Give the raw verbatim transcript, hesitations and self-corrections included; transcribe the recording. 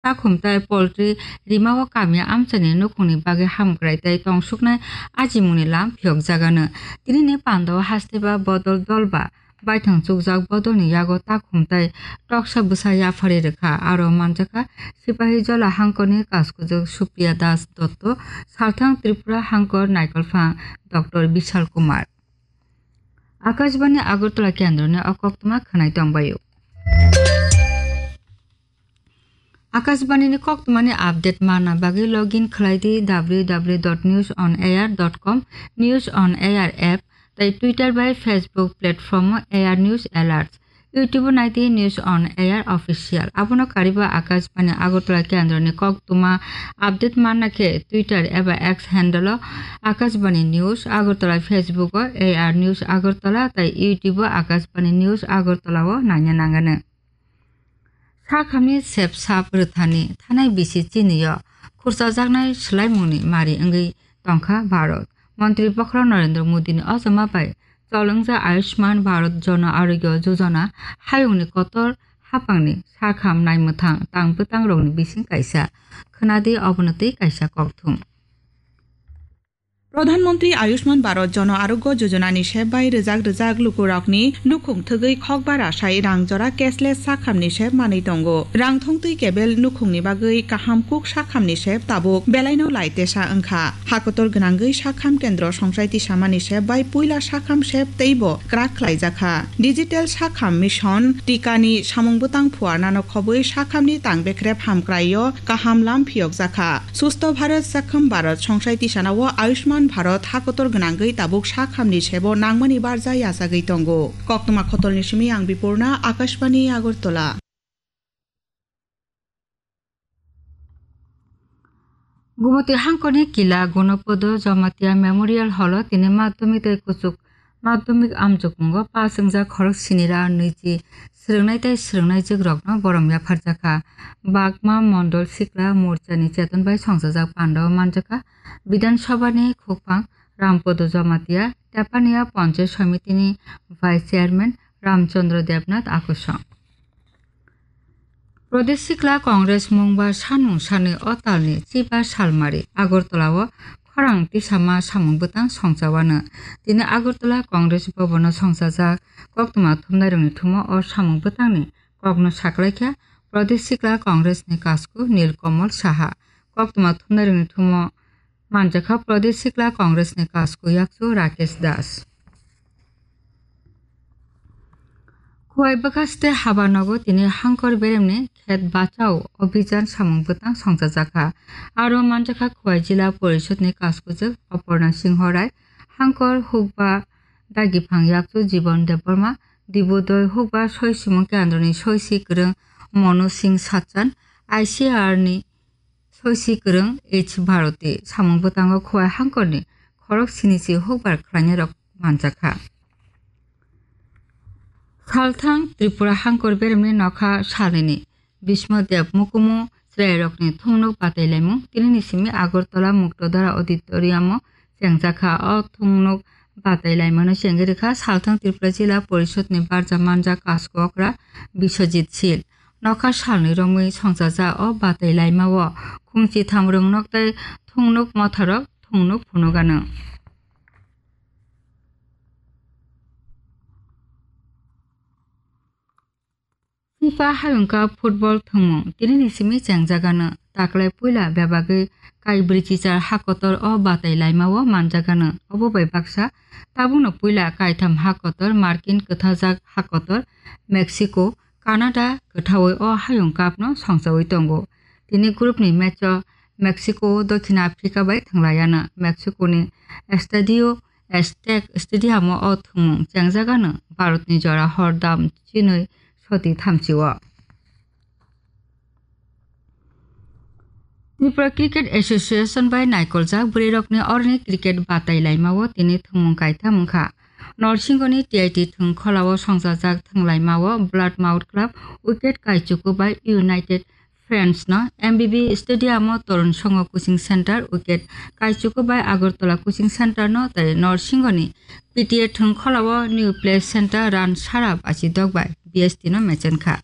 takhum tei poultry rimao kamya amchaini nukhungni bagwi hamkrai tei tongsuknai ajimungni lam phiyokjagano. Tinini pandao hasteba bodol dolba baithang chukjak bodolni yago takhum tei toksa bwsa yapharwi rwkha. Aro manjakha Sipahijola hangkorni kaskujwk Supriya Das Dotto, salthang Tripura hangkor naikolphang Doctor Bishal Kumar. Akashbani Agartala kendroni o koktwma khwnai tongbaio. Akashbani ni koktwmani update manna bagwi login khlai di w w w dot news on air dot com, News on Air app, tei Twitter bai Facebook platform o Air News Alerts. YouTube o nai di News on Air Official. Abono kariba Akashbani Agartala kendroni koktwma update manna khe Twitter eba X handle o Akashbani News Agartala, Facebook o Air News Agartala tei YouTube o Akashbani News Agartala o naina nangano. Sakhamni sep sap rwthani thanai bisi chini o khurchajaknai swlaimungni mari wngwi tongkha Bharat. Montri Bokhorok Narendra Modini ochoma bai chol wngjak Ayushman Bharat Jana Arogya Yojana hayungni kotor haphangni sakham naimwthang tang bwtangrokni bising kaisa. Khwnadi obono tei kaisa kokthum. Pradhan Mantri Ayushman Bharat Jana Arogya Yojana ni sep bai rwjak rwjak lukurokni nukhung thwgwi khokbar asai rang jora cashless sakhamni sep manwi tongo. Rang thongtwi kebel nukhungni bagwi kaham kuk sakhamni sep tabuk belaino lai tesa wngkha. Hakotor gwnangwi sakham kendro songchai tisamani sep bai puila sakham sep teibo kwrak khlaijakha. Digital sakham mission tikani samung bwtang phuarnano khobwi sakhamni tang bekrep hamkraio kaham lam phiyokjakha. Sustho Bharat Sakham Bharat songchai tisanao Ayushman Bharat hakotor gwnangwi tabuk sakhamni sebo nangmani barja yachagwi tongo. Koktwma khotolni simi ang Bipurna, Akashbani Agartala. Gumoti hangkorni Kila Gonopodo Jamatia Memorial Hall o tini madhyamik tei kuchuk madhyamik amjokmungo pass wngjak khorok sini ra nwichi swrwngnai tei swrwngnaijwk rokno borom yapharjakha. Bagma Mondol Sikla Morcha ni cheton bai songchajak pandao manjakha Bidhan Sabha ni khukphang Rampodo Jamatia, Tepania Panchayat Samiti ni Vice Chairman Ramchandra Debnath Akusong. Pradesh Sikla Congress mungba sanmung sanwi o talni chiba salmari Agartala o khorang tisama samung bwtang songchawano. Tini Agartala Congress Bhavan o songchajak koktwma thumnairokni thumo o samung bwtangni kokno saklaikha Pradesh Sikla Congress ni kasku Nil Kamal Saha. Koktwma thumnairokni thumo manjakha Pradesh Sikla Congress ni kasku yakchu Rakesh Das. Khowai bwkhaste haba nogo tini hangkor beremni khet bachao obhijan samung bwtang songchajakha. Aro manjakha Khowai Jila Porishod ni kaskujwk Aparna Singho Rai, hangkor hukba dagiphang yakchu Jibon Debbarma, Dibodoi hukba soi simung kendroni soisi kwrwng Monu Singh Sachan, I C R ni soisi kwrwng H Bharati. Samung bwtango Khowai hangkorni khorok sinichi hukbar khlainairok manjakha. Salthang Tripura hangkor beremni nokha salnini Bhisma Dev mukumu chwrairokni thungnuk batailaimung tinini simi Agartala Muktodhara Auditorium o chengjakha. O thungnuk batailaimano chengwi rwkha Salthang Tripura Jila Porishod ni barja manja kasko okra Biswajit Sil. Nokha salni romwi songchajak o batailaima o khungchi thamrwng nok tei thungnuk motharok thungnuk phunukgano. FIFA Hayung Cup football thwngmung tinini simi chengjagano. Taklai puila bebagwi kai brwichichar hakotor o batai laimao manjagano. Obo bai baksa tabukno puila kaitham hakotor Markin kwthajak hakotor Mexico, Canada kwthaui o Hayung Cup no songchaui tongo. Tini group ni match o Mexico Dokhin Africa bai thwnglaiano. Mexico ni Estadio Aztec Stadium o o thwngmung chengjagano Bharat ni jora hor dam chinwi soti thamchi o. Tripura Cricket Association bai naikoljak bwrwirokni oroni cricket batai laimao tini thwngmung kaitham wngkha. Norsingho ni T I T thwng kholao songchajak thwng laimao Blood Mouth Club wicket kaichuku bai United Friends no M B B Stadium o Torun Songho Coaching Center wicket kaichuku bai Agartala Coaching Center no tei Norsingho ni P T A thwng kholao New Play Center run sara bachi dok bai B S T no mechenkha.